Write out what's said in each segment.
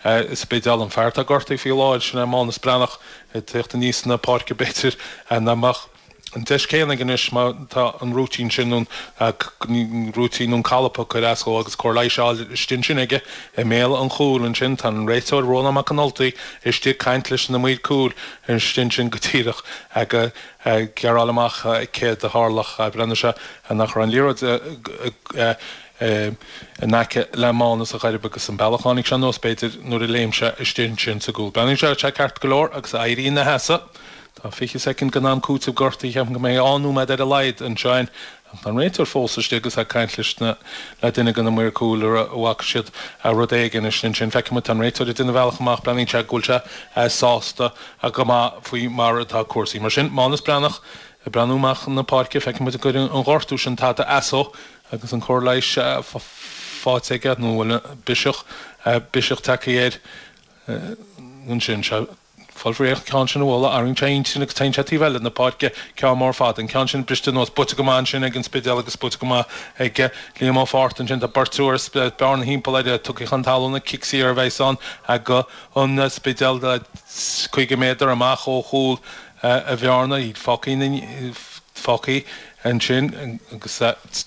Spidéal, an fear atá gortaithe faoi láthair, sin é Mánus Breathnach, ag tíocht aníos na páirce b'fhéidir nach mbeadh an deis céanna aige anois má tá an rúitín sin nó an rúitín nó an calp ag cur as dhó agus cóir leighis á fháil istigh ansin aige i mbéal an chúil ansin. Tá an réiteoir Rónán Mac an Ultaigh istigh ag caint leis na maoir cúil istigh ansin go díreach ag gearáil amach céard a tharla. Breathnaigh sé nach raibh an liathróid in aice le Mánas a ghairb agus an bealach a tháinig sé anuas, b'fhéidir, nuair a léim sé istigh ansin sa gcúl. Breathnaíonn sé sé ceart go leor agus éirí ina sheasamh. Tá 20 soicind den am cúitimh gortaithe, ceapaim go mbeidh 2 nóiméad ar a laghad anseo againn. Ach tá an réiteoir fós istigh agus é ag caint leis na, le duine de na maoir cúil an bhfaca siad rud éigin istigh ansin. Feicfidh muid, tá an réiteoir ag déanamh a bhealach amach, breathnaíonn sé go bhfuil sé sásta go maith faoi mar atá cúrsaí. Mar sin, Mánas Breathnach ag breathnú amach na páirce, feicfidh muid an gcuireann an gortú sin tada as dó. Agus an cóir leighis faighte aige, nó an bhfuil biseach, biseach tagtha air ansin. Sea, fáil faoi an ceann sin a bhualadh, athraíonn sé a intinn agus téann sé taobh eile na páirce, ceann mór fada. An ceann sin briste anuas, buaite go maith ansin ag an Spidéal agus buaite go maith ag Liam Ó Fátharta ansin. Tá beirt úr as Bearna thimpeall air, tugtha chun talún, cic saor a bheas ann ag an Spidéal, 50 méadar amach ó chúl Bhearna, iad fágtha, fágtha ansin agus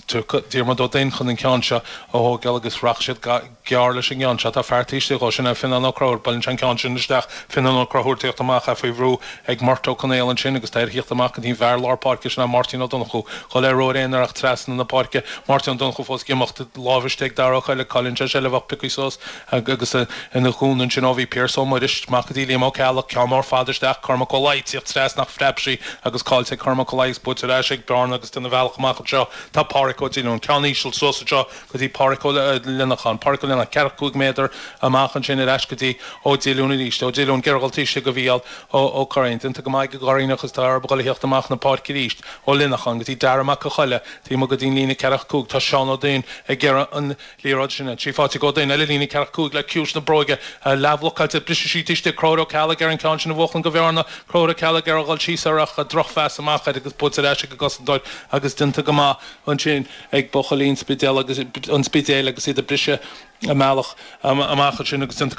tiocfaidh Diarmuid Ó Duinn chun an ceann seo a thógáil agus rachaidh siad gearr leis an gceann seo. Tá fear taobh istigh dhó, sin é Fionnán Ó Conchúir. Buaileann sé an ceann sin isteach. Fionnán Ó Conchúir ag tíocht amach, é faoi bhrú ag Murt Ó Conaola ansin agus tá air thíocht amach go dtí an bhfear lár páirce, sin é Máirtín Ó Donnchú. Dhul ar ró ar aon ach trasna na páirce. Máirtín Ó Donnchú fós ag imeacht, lámh istigh ag Dara Ó Coille, cailleann sé seilbh ach pioctha suas agus ina dhún ansin ó bhí Pearse Ó Muiris, amach go dtí Liam Ó Ceallaigh, ceann mór fada isteach, Cormac Ó Laoi, tíocht trasna ach phreab sí agus caillte ag Cormac Ó Laoi agus buaite ar ais ag Bearna agus déanamh a bhealach amach anseo tá Páraic Ó Diolúin, ceann íseal suas anseo go dtí Páraic Ó Lionnacháin, Páraic Ó Lionnacháin, ceathracha cúig méadar amach ansin ar ais go dtí Ó Diolúin arís, Ó Diolúin ag iarraidh dhul taobh istigh go Mhícheál Ó Curraoin, déanta go maith ag an gCurraoineach agus tá orthu dhul a thíocht amach na páirce arís, Ó Lionnacháin go dtí Dara Mac a' Choille, taobh amuigh go dtí an líne ceathracha cúig, tá Seán Ó Duinn ag iarraidh an. Liathróid sin 3 faighte ag Ó Duinn ar an líne ceathracha cúig le ciumhais na bróige. Leathbhlocáilte, briseadh sí taobh istigh. Conchúr Ó Ceallaigh ar an ceann sin a bhuachan go Bhearna. Conchúr Ó Ceallaigh ag iarraidh dhul síos air ach drochphas amach air agus buaite ar ais ag an gcosantóir agus déanta go maith ansin ag buachaillí an Spidéil agus an Spidéil agus iad ag briseadh a mbealach amach ansin agus déanta go.